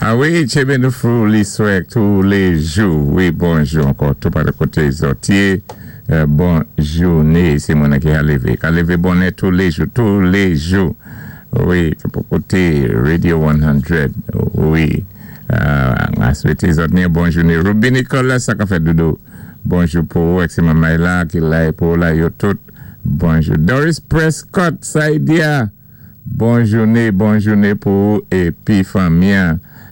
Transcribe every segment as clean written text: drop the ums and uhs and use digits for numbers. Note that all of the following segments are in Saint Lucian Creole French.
A wi, tjenbé nou fou liswè touléjou. Wi, bonjou ankò toupatou koté zòt yé. Bon jouné. Sé moun ki ka lévé. Ka lévé bonnè touléjou, touléjou. Wi, pou kouté Radio 100. Wi. A swété zòt ni bon jouné. Ruby Nicolas, sa ka fèt, doudou? Bonjou pou ou, èk sé manmay la, ki la pou ou la, yo tout. Bonjou. Doris Prescott, Saidia. Bon jouné, bon jouné pou ou épi fanmi.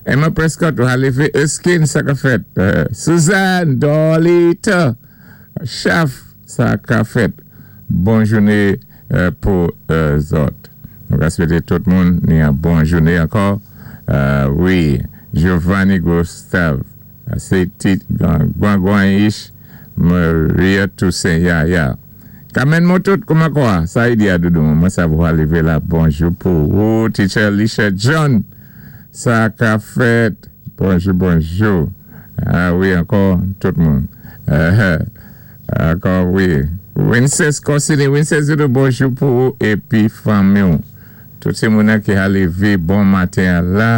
Emma Prescott, Halife Erskine, sa ka fèt? Suzanne Dolita, Chaf, sa ka fèt? Bon jouné pou zòt. Nou ka swété tout moun ni yon bon jouné ankò. Wi, Giovanni Gustave, sé ti Gwangwan-ish, Maria Toussaint, ya. Carmen Motot, kouman kwa? Sa i di a, doudou? Mwen sav ou lévé la. Bonjou pou ou, Teacher Alicia John. Sa ka fèt? Bonjou, bonjou. A wi, ankò, tout moun. Ankò, wi. Winces Corsini, Winces doudou, bonjou pou ou épi fanmi. Tout sé moun ki a lévé bon maten la,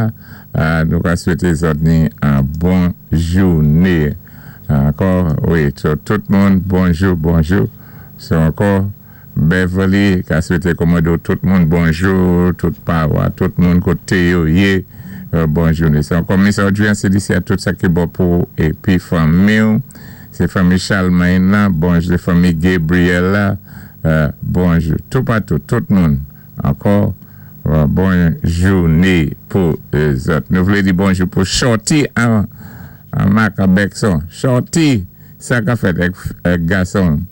nou ka swété zòt ni yon bon jouné. Ankò, wi, tout moun, bonjou, bonjou. So ankò, Beverly, ka swété kòmando tout moun bonjou, tout pawa, tout moun koté yo yé, bon jouné. Sé ankò Miss Audrey Célicia, tout sa ki bon pou épi fanmi. Sé fanmi Charlemagne la, bonjou, fanmi Gabriel la, bonjou. Toupatou, tout moun. Ankò, bon jouné pou zòt. Nou vlé di bonjou pou Shorty an Mac Bekson. Shorty, sa ka fèt èk gason?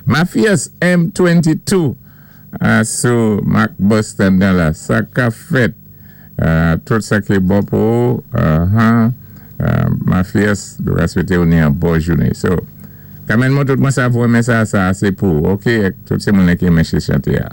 Mafias M22 sou Mac Boston nan la. Sa ka fèt? Tout sa ki bon pou ou. Mafias, nou ka swété ou ni yon bon jouné. So, Kamèn mwen tout mwen sa vwè men sa, sa sé pou, ok? Tout sé moun ki renmen chanté a.